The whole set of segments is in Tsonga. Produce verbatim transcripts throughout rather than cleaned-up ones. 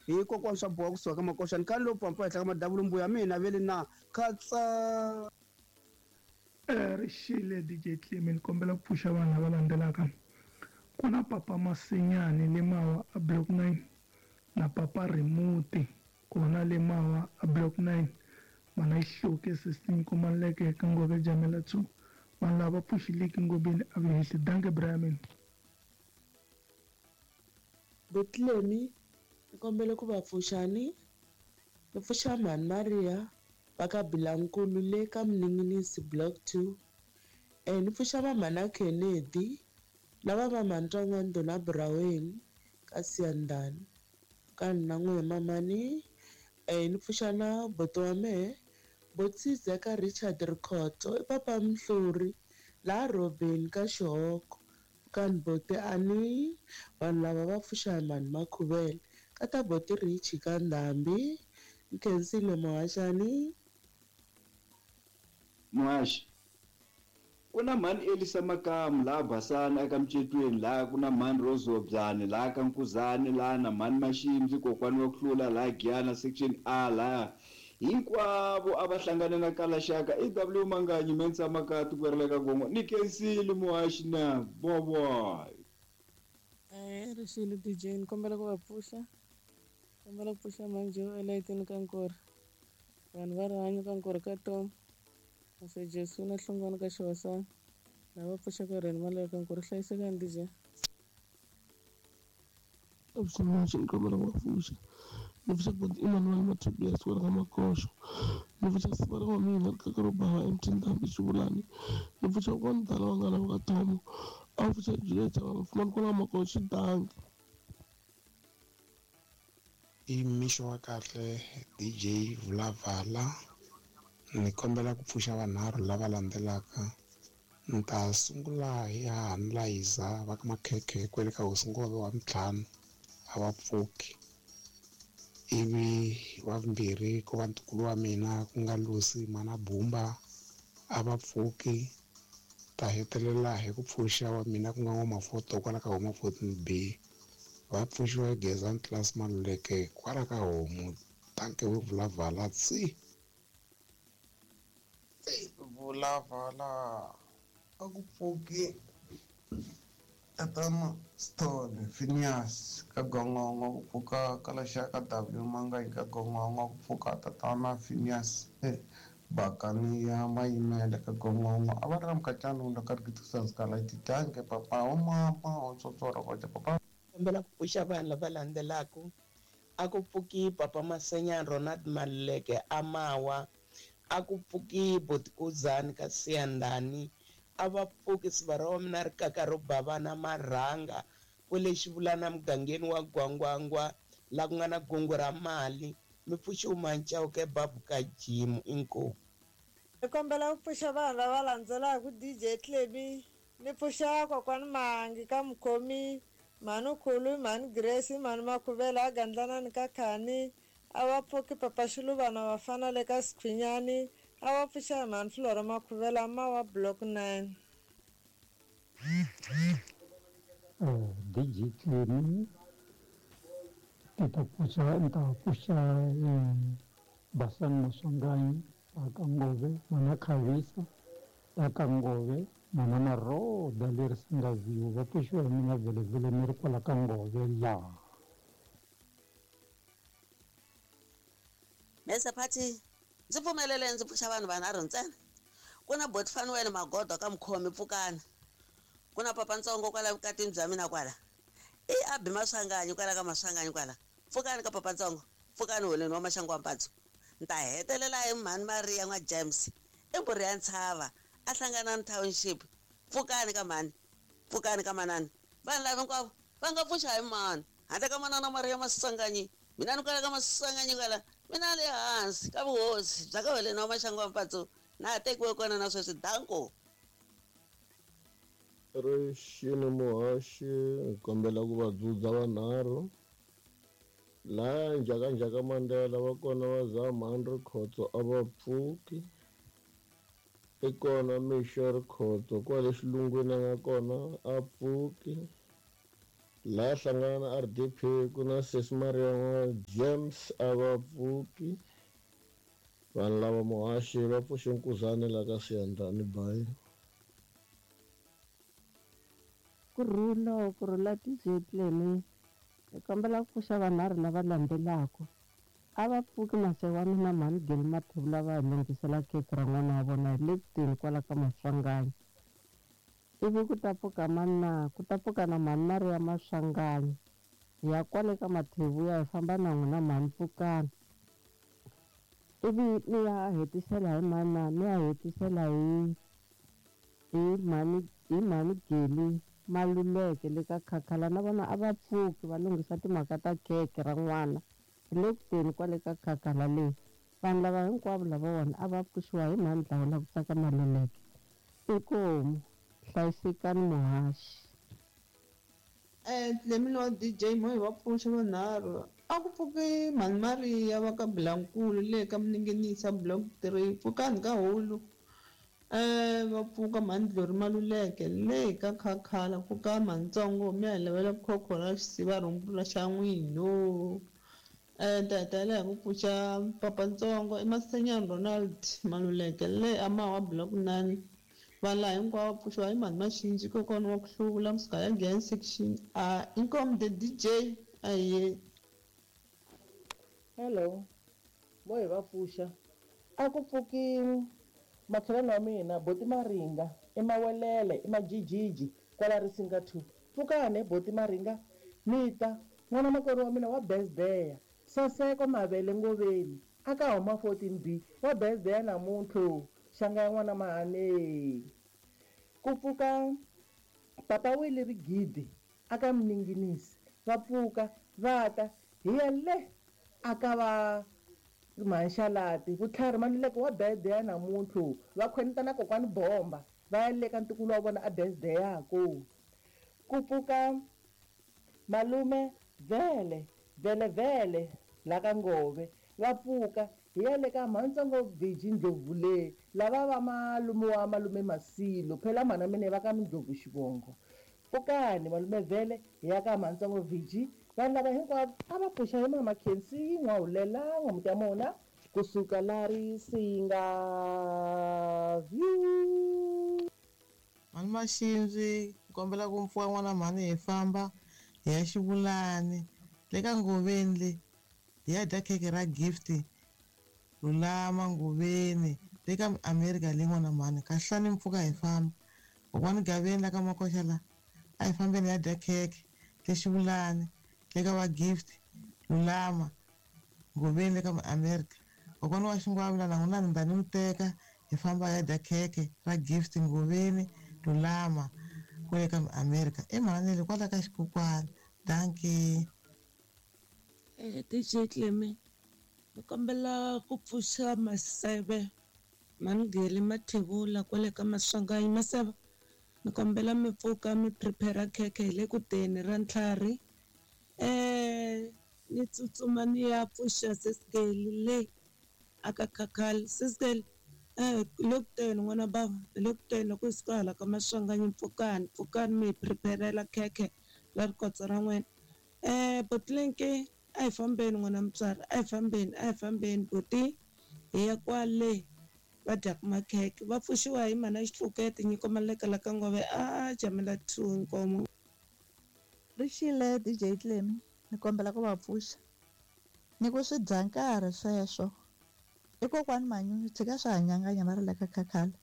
Hi kokwana swa boha kusuka ka makoxani khani lowu pampa henhla ka madavulu mbuya mina vele na khatsa. Rixile D J Clemi, ni kombela ku pfuxa vanhu lava landzelaka. Ku na Papa Masinyani le Mawa a Block nine na Papa Remote kona le Mawa a Block nine. Mana Xihluke sixteen Komaleke ka Ngove Jamela two. Vanhu lava pfuxileki ngobeni a va hehli. Danke Brian. Butlemi ni kombela ku va pfuxani. Ni pfuxa Mhani Maria va ka Bilankulu le ka Mninginisi Block two. Eh ni pfuxa va Mhana Kennedy lava va Mhani Twan'wando na Braweni ka Siyandhani. Ka na n'we mamani. Eh ni pfuxa na buti wa mehe Botsize ka Richard Rikhotso i Papa Mhluri la Robin ka Xihoko. Kan bote ani vanhu lava va pfuxa hi Mhani Makhuvele ka ta boti Richi ka Ndhambi. Nkhensile muhaxani. Muhaxi, ku na Mhani Elisa Makamu laha Basana eka Mcetweni, laha ku na Mhani Rose Obyani laha ka Nkuzani, laha na Mhani Maximzi kokwani wa ku hlula laha Giyana section A laha. Hinkwavo a va hlangane na Kalaxaka E W Manganyi Mensa Makati ku ri le ka Gongo. Ni khensile muhaxi na boboy. Eh rixile D J, ni kombela ku va pfuxa. Kombela ku pfuxa manje elayitini ka Nkori. Vanhu va rihanyo ka Nkori ka Tom. Mase Jesu na Hlongwane ka Xihosana. Lava pfuxa ka reni mali ka Nkori. Hlayisekani D J. Absolutely, ni kombela ku va pfuxa. Ni pfuxa ku Emmanuel Mathibias wa ka Makoxo. Ni pfuxa sivara wa mina ka ro bava M T Ndhambi Xivulani. Ni pfuxa ku ndala wa nga lava ka Tomo. A pfuxa Juliet wa mfumani kwala Makoxo danki. I mixo wa kahle D J Vulavala. Ni kombela ku pfuxa vanharhu lava landzelaka. Ni ta sungula hi Hahani Layiza va ka Makhekhe kwele ka Hosi Ngove wa ntlhanu a va pfuki. Ivi wa vumbirhi ku va ntukulu wa mina ku nga Lucy Mana Bumba a va pfuki. Ta hetelela hi ku pfuxa wa mina ku nga N'wamafoto kwala ka Homa fourteen B. Va pfuxiwa hi Gezani Class Maluleke kwala ka Homu. Danke we Vulavala tsi. Vulavala a ku pfuki Tatana Stone Phineas ka Gongongo ku pfuka Kalaxaka W Manganyi ka Gongongo ku pfuka Tatana Phineas e Bakani ya Mayimele ka Gongongo a va ri na mukacana ka Rikitusanskala titanke papa wa mama wa tsotsora kwaja papa. Kombela ku pfuxa vanhu lava landzelaka. A ku pfuki Papa Masenyani Ronald Maluleke a Mawa. A ku pfuki Botikuzani ka Siyandhani. A va pfuki sivara wa mina rikaka ro bavana marhanga kwele Xivulana mugangeni wa Gwangwangwa la ku nga na gungu ra mali. Mi pfuxi Umanchauke babu ka Jimu inkomu. Ni kombela ku pfuxa vanhu lava landzelaka D J Clemi. Ni pfuxa kokwani Mangi ka Mukhomi, Mhani Khulu, Mhani Grace, Mhani Makhuvela a Gandlanani ka Khani. A va pfuki Papa Xiluvana vafana le ka Sikhwinyani. A va pfuxa Mhani Flora Makhuvela Mawa Block nine. D J Clemi ni ta pfuxa ni ta pfuxa Basani Maswanganyi va ka Ngove, Mana Khavisa va ka Ngove, Mana Maroda leri Singaziwa va pfuxiwa hi mina vhelevhele ni ri kwala ka Ngove laha. Mese Phathi, ndzi pfumelele ndzi pfuxa vanhu vanharhu ntsena. Ku na Boti Fanuel Magodo ka Mukhomi pfukani. Ku na Papa Ntsongo kwala vukatini bya mina kwala. I Abi Maswanganyi kwala ka Maswanganyi kwala. Pfukani ka Papa Ntsongo, pfukani holeni wa Maxangu wa Mpatso. Ni ta hetelela hi Mhani Maria n'wa James. I mbhuri ya Ntshava, a hlangana na township. Pfukani ka mhani, pfukani ka manani. Vanhu lava hinkwavo va nga pfuxa hi mani. Handle ka manana Maria Maswanganyi, mina ni kwala ka Maswanganyi kwala. Mina le hansi ka vuhosi bya ka holeni wa Maxangu wa Mpatso na ha tekiwe kona na sweswi danko. Rixini muhaxi, hi kombela ku va dzudza vanharhu. Laha Njhakanjhaka Mandela va kona va za Mhani Rikhotso a va pfuki. I kona Mixo Rikhotso kwale xilungwini a nga kona a pfuki. Laha hlangana na R D P ku na Sesi Maria James a va pfuki. Vanhu lava muhaxi va pfuxe Nkuzani laha ka Siyandhani bayi. Kurhula kurhula D J Clemy. Hi kombela ku pfuxa vanharhu lava landzelaka. A va pfuki mase wa mina mhani Geli Mathebula va hi lunghisela khekhe ra n'wana wa vona hi le kuteni kwala ka Maswanganyi. Ivi ku ta pfuka mani na ku ta pfuka na mhani Maria Maswanganyi. Hi ya kwale ka Mathebuya hi famba na n'wina mhani Pfukani. Ivi ni ya hetisela hi mani na ni ya hetisela hi hi mhani hi mhani Geli Maluleke le ka Khakhala na vona a va pfuki va lunghisa timhaka ta khekhe ra n'wana hi le kuteni kwale ka Khakhala leyi. Vanhu lava hinkwavo lavawani a va pfuxiwa hi mhani Dlawula ku tsaka Maluleke. Inkomu hlayisekani muhaxi. Eh Clemy wa D J mo hi va pfuxa vanharhu. A ku pfuki mhani Maria va ka Bilankulu le ka Mninginisa block three pfukani ka hulu. Eh va pfuka mhani Dlori Maluleke le ka Khakhala pfuka mhanitsongo mi ya lavela khokho ra xisiva rhumbula xa n'wino. Eh ta hetelela hi ku pfuxa papantsongo i Masenyani Ronald Maluleke le Amawa block nine. Vanhu laha hinkwavo va pfuxiwa hi mhani Maxinji kokwana wa ku hluvula kusuka ya Giyani section A. Inkomu the D J aye. Hello, mo hi va pfuxa. A ku pfuki makhelwani wa mina Boti Maringa i Mawelele i Majijiji kwala Risinga two. Pfukani Boti Maringa ni ta n'wana makwerhu wa mina wa birthday Saseko Mavele Ngoveni a ka huma fourteen B wa birthday namuntlha xanga ya n'wana Mahane. Ku pfuka papa Wili Rigidi a ka Mninginisi va pfuka va ta hi ya le a ka va Mhanxalati Vutlhari Maluleke wa birthday namuntlha va khwenita na kokwani Bomba va ya le ka ntukulu wa vona a birthday yako. Ku pfuka malume Vele Vele Vele la ka Ngove va pfuka hi ya le ka Mhantsongo Viji Ndlovu le lava va malume wa malume Masilo phela mhana mina va ka Mindlovu xivongo. Pfukani malume Vele hi ya ka Mhantsongo Viji. Vanhu lava hinkwavo a va pfuxa hi mama Khensi N'wahulela n'wamuti ya mona kusuka la Risinga view. Mhani Maxinzi kombela ku mpfuka n'wana mhani hi famba hi ya Xivulani le ka Ngoveni le hi ya dya khekhe ra gift Lulama Ngoveni le ka America le n'wana mhani kahlani mpfuka hi famba. Kokwani Gaveni la ka Makoxa la a hi fambeni hi ya dya khekhe le Xivulani le ka va gift Lulama Ngoveni le ka America. Kokwani wa Xingwavula na n'wina ni ta ni mi teka hi famba hi ya dya khekhe ra gift Ngoveni Lulama kwale ka America. I mhani le kwala ka Xikokwani. Dankie. Eh D J Clemy ni kombela ku pfuxa Maseve Mhani Mathebula kwale ka Maswanganyi. Maseve ni kombela mi pfuka mi prepare khekhe hi le kuteni ra ntlhari. Eh ni tsutsuma ni ya pfuxa Sesgeli le aka Khakhala. Sesgeli eh le kuteni n'wana bava le kuteni loko hi suka hala ka Maswanganyi pfukani pfukani mi hi preparela khekhe ra rikotsa ra n'wina. Eh Botlenke a hi fambeni n'wana mutswari a hi fambeni a hi fambeni buti hi ya kwale va dyaka makhekhe va pfuxiwa hi mhana Xitlukete Nyiko Maleka la ka Ngove a jamela two Nkomo. Rixile D J Clemy ni kombela ku va pfuxa ni ku swi dya nkarhi sweswo i kokwani Manyunyu tshika swa hanyanganya va ri le ka Khakhala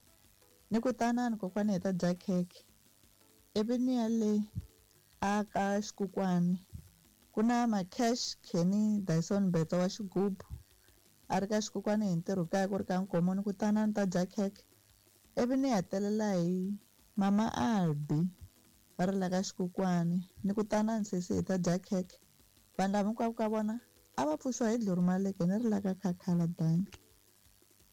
ni ku tanani kokwani hi ta dya khekhe ivi ni ya le a ka Xikukwani ku na Macash Kenny Dyson Beto wa xigubu a ri ka Xikukwani hi ntirho kaya ku ri ka Nkomo ni ku tanani ta dya khekhe ivi ni hetelela hi mama Albi va ri la ka Xikukwani ni ku tanani sesi hi ta dya khekhe. Vanhu lava hinkwavo ka vona a va pfuxiwa hi Dlori Maluleke ni ri la ka Khakhala. Dankie.